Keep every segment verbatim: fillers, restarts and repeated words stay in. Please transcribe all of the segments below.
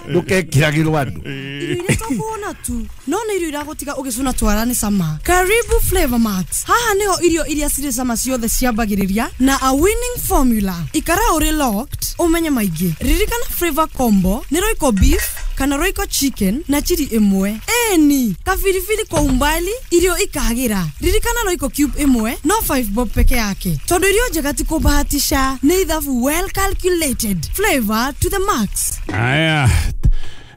Ndũkekĩragĩrwo andũ. Irio iria tũkuona tu no nĩ irio iragũtiga ũgĩcũna twara nĩ cama. Karibu Flavor Max. Haha nĩho irio iria cirĩ cama ciothe ciambagĩrĩria na a winning formula. Ikara ũrĩ locked ũmenye maingĩ. Ririkana flavor combo nĩ Royco beef kana Royco chicken na chili ĩmwe. Eni kabiribiri kwa umbali irio ikagĩra. Ririkana Royco cube ĩmwe no five bob peke yake. Tondũ irio njega ti kũbahatisha, nĩ ithabu well calculated. Flavor to the max. Aya.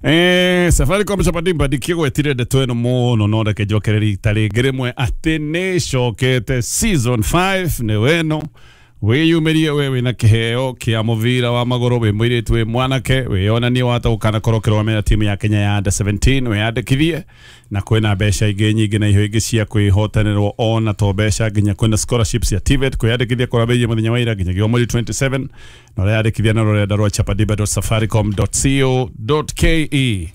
Eh, Safaricom Chapadimba ndikĩgwetire ndeto ĩno mũno no reke njokerere rita rĩngĩ rĩmwe atĩ nĩ ĩcokete season five nĩ weno wĩyumĩrie we wĩna kĩheo kĩa mũbira wa magũrũ wĩ mũirĩtu wĩ mwanake wĩyonanie wata ũkanakorwo ũkĩrũgamĩrĩra timu ya Kenya ya under seventeen wĩyandĩkithie na kwĩna mbeca ingĩ nyingĩ na iheo ingĩ cia kwĩhotanĩrwo ona to mbeca nginya kwĩna scholarships ya T V E T kwĩyandĩkithia kũrambĩrĩria mũthenya wa ira nginyagia mweri twenty-seven na ũreyandĩkithia na rũrenda rwa chapadimba dot safaricom dot co dot ke.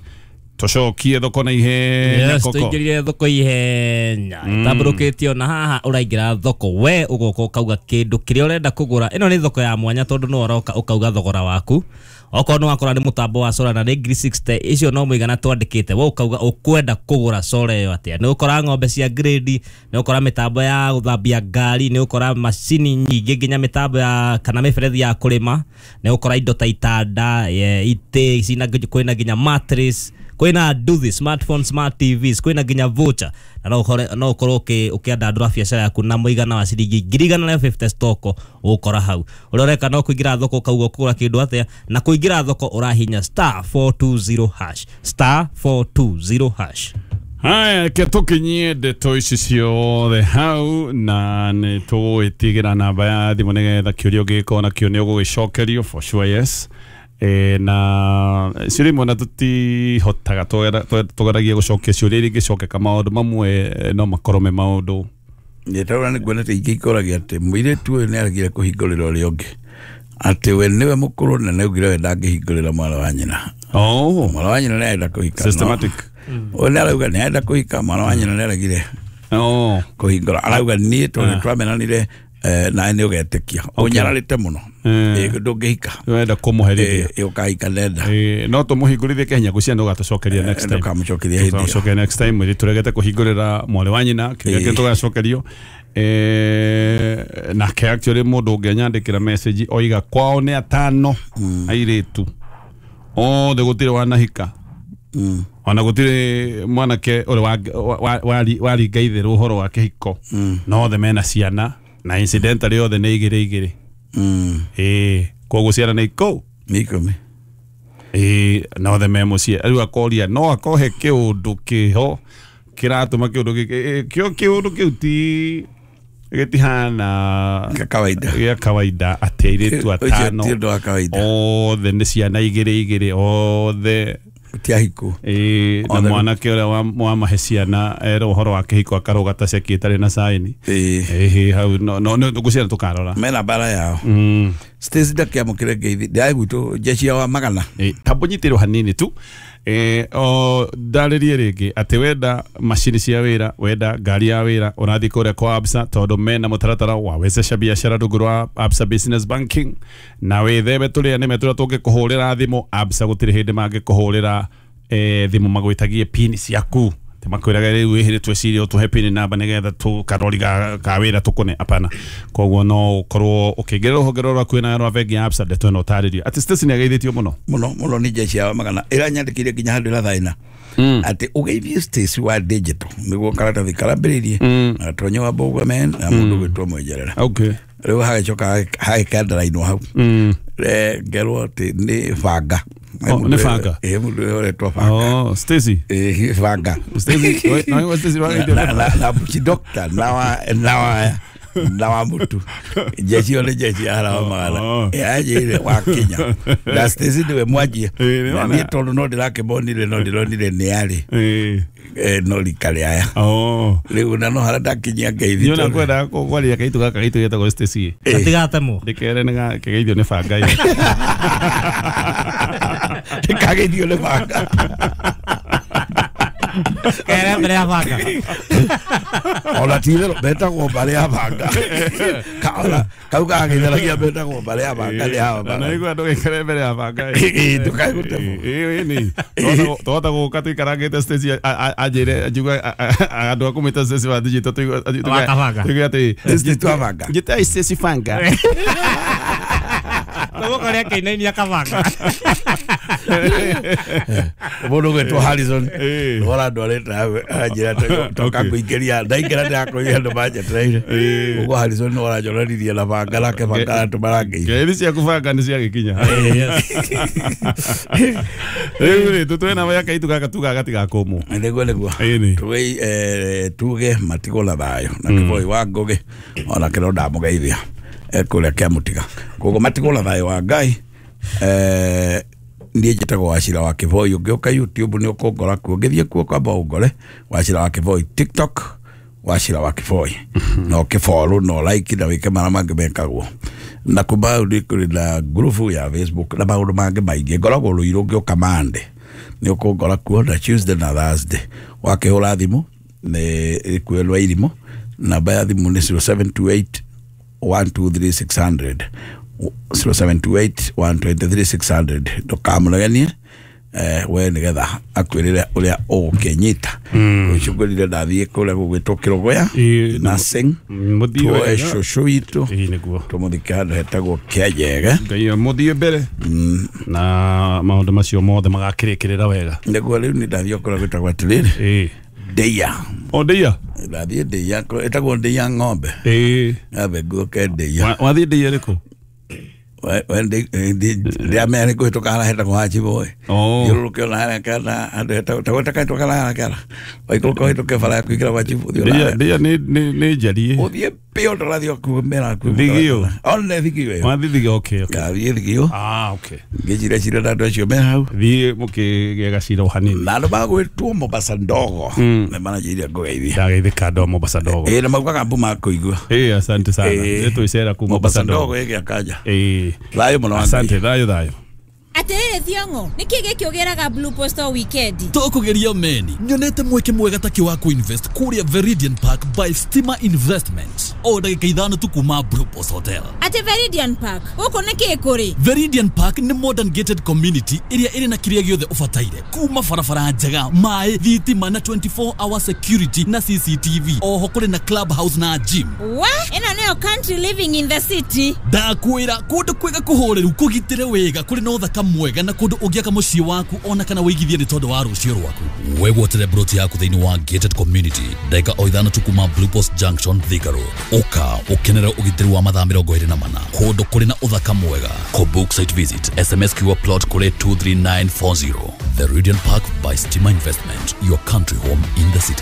Tũcokie thoko na ihenya. Yes, koko tũingĩrire thoko ihenya ĩtambũrũkĩtio na haha ũraingĩra thoko we ũgoka ũkauga kĩndũ kĩrĩa ũrenda kũgũra. Ĩno nĩ thoko ya mwanya tondũ nĩ ũroka ũkauga thogora waku. Okorwo nĩ wakora nĩ mũtambo wa solar na nĩ ngiri sixty icio no mũigana twandĩkĩte we ũkauga ũkwenda kũgũra solar ĩyo atĩa. Nĩ ũkora ng'ombe cia grade, nĩ ũkora mĩtambo ya gũthambia ngari, nĩ ũkora macini nyingĩ nginya mĩtambo ya kana mĩberethi ya kũrĩma, nĩ ũkora indo ta itanda, itĩ cina kwĩna nginya mattress, kwĩna nduthi, smartphone, smart T Vs, kwĩna nginya voucher na no ũkore no ũkorwo ũkĩandandũra biacara yaku na mũigana wa ciringi ngiri igana rĩa fifty stock ũgũkora hau. Ũrĩa ũreka no kũingĩra thoko ũkauga ũkũgũra kĩndũ atĩa, na kũingĩra thoko ũrahinya star four two zero hash star four two zero hash. Haya, reke tũkinyie ndeto ici ciothe hau na nĩ tũgũgĩtigĩra namba ya thimũ nĩgetha kĩũria ũngĩgĩkorwo nakĩo nĩ ũgũgĩcokerio for sure. Yes. E, na ciũria imwe na tũtihotaga tũgeragia gũcokia ciũria iria ingĩcokeka maũndũ mamwe no makorwo me maũndũ nĩtaũra nĩ nguona ta ingĩ ikoragia atĩ mũirĩtu ũyũ nĩ aregire kũhingũrĩra ũrĩa ũngĩ atĩ we nĩwe mũkũrũ na nĩaugire we ndangĩhingũrĩra mwana wa nyina. Oh, mwana wa nyina nĩarenda kũhika. Systematic. Ũyũ nĩarauga nĩarenda kũhika, mwana wa nyina nĩaregire oh kũhingũra. Arauga niĩ tondũ nĩtwamenanire nawe nĩ ũgetĩkia ũnyararĩte mũno ndũngĩhika wenda kũmũherithia ũkahika nenda no tũmũhingũrithie kĩhinya ngwĩciria ndũgatũcokeria next time. Ndũkamũcokeria hĩndĩ ĩyo. Tũgacokeria next time mwĩrĩ tũregete kũhingũrĩra mwarĩ wa nyina kĩrĩa kĩngĩ tũgacokerio. Eh, nake actually mũndũ ũngĩ anyandĩkĩra message oiga kwao nĩ atano airĩtu othe gũtirĩ wanahika ona gũtirĩ mwanake ũrĩ waringa itherũ ũhoro wa kĩhiko no othe mena ciana na incidentally othe nĩ igĩrĩ igĩrĩ. Ĩĩ koguo ciana nĩ ikũ nĩ ikũmi. Ĩĩ na othe me mũciĩ. Rĩu akoria no akohe kĩũndũ kĩho kĩratũma kĩũndũ gĩkĩ kĩo kĩũndũ kĩu ti gĩtihana kawaida gĩa kawaida atĩ airĩtu atano ti ũndũ wa kawaida othe nĩ ciana igĩrĩ igĩrĩ othe ti ahiku. Ĩĩ na mwanake ũrĩa wamahe ciana erwo ũhoro wa kĩhiko akarũga ta ceki ĩtarĩ na saini. Ĩĩ hau no no ngwĩciria tũkarora mena mbara yao. Stacy ndakĩamũkĩre ngeithi ndĩraĩ gwitũ jeshi ya wa magana. Ĩĩ tambũnyitĩrwo hanini tu. Eh, o ndarĩrie rĩngĩ atĩ wenda macini cia wĩra wenda ngari ya wĩra ũrathiĩ kũrĩa kwa Absa tondũ mena mũtaratara wa wezesha biashara rungu rwa Absa Business Banking na wĩtheme tũrĩa nĩme tũrĩa tũngĩkũhũrĩra thimũ. Absa gũtirĩ hĩndĩ mangĩkũhũrĩra eh, thimũ magwĩtagie pin ciaku atĩ makwĩraga rĩu ĩhĩ twĩcirie ũtũhe pin namba nĩgetha tũkarori ka wĩra tũkũne apana. Koguo no ũkorwo ũkĩingĩra rũhonge rũrũ rwaku na rwa bengi ya Absa ndeto ĩno ũtarĩrio atĩ Stacy nĩageithĩtio mũno mũno mũno nĩ jeshi ya magana ĩranyandĩkĩire nginya handũ ĩrathaina atĩ ũgeithie Stacy wa digital nĩguo karatathi karambĩrĩirie na Gatonyo wa Mbũgua men na mũndũ gwĩtwo Mwenjerera. Okay. Rĩu hagĩcoka hagĩkandarainwo hau ngerwo atĩ nĩ banga. Oh, nĩ banga. Ĩĩ mũndũ ũyũ ũretwo banga. Oh, Stacy. Ĩĩ banga. Stacy, no Stacy na na na doctor na wa na wa na wa mutu jeshi ole jeshi ara wa magana yanjire wa Kenya na Stacy niwe mwanjie na niĩ tondũ no ndĩrakĩmonire no ndĩronire nĩ arĩ no rika aya. Oh. Rĩu na no harĩa ndakinyia ngeithi Niona kwenda kwaria kaitu gaka gaitu getagwo Stacy. Gatigatemwo. Ndĩkere nĩ kegeithio nĩ banga ĩyo. Ndĩkageithio nĩ banga. Kere mbere ya banga. Ona ti-itherũ betagwo mbarĩ ya banga. Kaona kau gagĩtheragia betagwo mbarĩ ya banga nĩ hawa Na banga. naigua ndũgaikare mbere ya banga. Ĩĩ, ndũkae gũtemwo. Ĩĩ nĩ. Twahota gũka tũikarangĩte stage anjĩre njigue andũ a kũmĩta Stacy wa digital Wa kabanga. tuigue atĩ Stacy twa banga. njĩtai Stacy banga. Tũgũkorĩa akĩinainia kabanga. Mũndũ ũgwĩtwo Harrison Ĩĩ. wora ndwarĩte anjĩra toka Okay. kũingĩria ndaingĩra ndĩrakũria andũ manjetereire. Ĩĩ. Ũguo Harrison nĩ ũranjonanirie na banga nake banga andũ marangĩire. Ngeithi ciaku banga nĩ ciagĩkinya. Rĩu rĩ tũtwe namba ya kaitu gaka tugaga gatigakũmwo. Nĩguo nĩguo. Ĩĩ. Tuge eh, tuge matigwo na thayũ na kĩboi wa ngũgĩ ona kĩro ndamũgeithia ekũrĩa kĩamũtiga koguo matigwo na thayũ wa Ngai. eh, niĩ njĩtagwo Wachira wa Kĩboi. Ũngĩũka YouTube nĩ ũkũngora kuo, ũngĩthiĩ kuo kwamba ũngore Wachira wa Kĩboi, TikTok Wachira wa Kĩboi, na ũkĩfollow na like na wĩke marĩa mangĩ mekagwo na kumba nĩ kũrĩ na ngurubu ya Facebook na maũndũ mangĩ maingĩ. Ngoragwo Rũirũ, ũngĩũka Monday nĩ ũkũngora kuo na Tuesday na Thursday. Wakĩhũra thimũ nĩ ĩkuĩrwo irimũ, namba ya thimũ nĩ zero seven two eight one two three six hundred, zero seven two eight one two three six hundred. Ndũkamũreganie eh, we nĩgetha akwĩrĩre ũrĩa ũgũkĩnyita. Ũcũngũrire ndathiĩ kũrĩa gũgwĩtwo Kĩrũgũya Ĩĩ, nursing mũthiĩ tuoe wega. cũcũ witũ Ĩĩ nĩguo. tũmũthike handũ hetagwo Kĩanjege. Ngai mũthiĩ mbere na maũndũ macio mothe magakĩrĩkĩrĩra wega. Nĩguo rĩu nĩ ndathiĩ kũrĩa gwĩtagwo atĩrĩrĩ Ĩĩ. Ndĩia. O ndĩia? Ndathiĩ Ndĩia, ĩtagwo Ndĩia ng'ombe. Ĩĩ. Nyambe nguoke Ndĩia. Wa- Wathiĩ ndĩia ĩrĩkũ? Ndĩamenya nĩ kũhĩtũka harĩa hetagwo Hachiboy. Oh. Thiũrũrũke ona harĩa kana handũ hetagwo tagwĩta kana harĩa kana waikũrũka ũhĩtũke bara ya kũingĩra gwa Chifu ũthiĩ Ndĩia ona ndĩia nĩ nĩ nĩ njariĩ. ũthiĩ pio ndũrathiĩ kumĩra Thigio. one Thigio ĩyo. Wathiĩ Thigio, okay, okay. Ngathiĩ Thigio Ah, okay. ngĩcira cira na andũ acio me hau Thiĩ mũkĩgĩa gacira o hanini. na andũ magwĩtwo Mombasa ndogo nĩ mananjĩire ngũgeithia. Ndageithĩka andũ a Mombasa ndogo. Ĩĩ na maugaga mbu makũigua. Ĩĩ asante sana. Ĩĩ. Nĩ twĩcera ku Mombasa Mombasa ndogo. ndogo ĩgĩa kanja. Ĩĩ. Thayũ mũno wa Ngai. Asante, thayũ thayũ. Atĩrĩrĩ Thiong'o, nĩkĩ gĩkĩ ũgĩraga Blue Post o weekend? Tũkũgeria meni nyonete mweke mwega takĩ wa kũinvest kũrĩa Veridian Park by Stima Investments o ndagĩka ithano tu kuma Blue Post Hotel. Atĩ Veridian Park, gũkũ nĩkĩ kũrĩ? Veridian Park nĩ modern gated community ĩrĩa ĩrĩ na kĩrĩa gĩothe ũbataire kuma barabara njega, maĩ, thitima na twenty-four hour security na C C T V. Oho kũrĩ na club house na gym. Wa, ĩno nĩyo country living in the city. Ndakwĩra kũndũ kwega kũhoreru kũgitĩre wega kũrĩ na ũthaka mwega na kũndũ ũngĩaka mũciĩ waku ona kana wĩigithie nĩ tondũ wa rũciũ rwaku. Wegwatĩre broti yaku thĩinĩ wa gated community ndagĩka o ithano tu kuma Blue Post Junction Thika Road. Ũka ũkenere ũgitĩri wa mathaa mĩrongo ĩrĩ na mana kũndũ kũrĩ na ũthaka mwega. Kũbook site visit S M S Q plot kũrĩ two three nine four zero. The Veridian Park by Stima Investment, your country home in the city.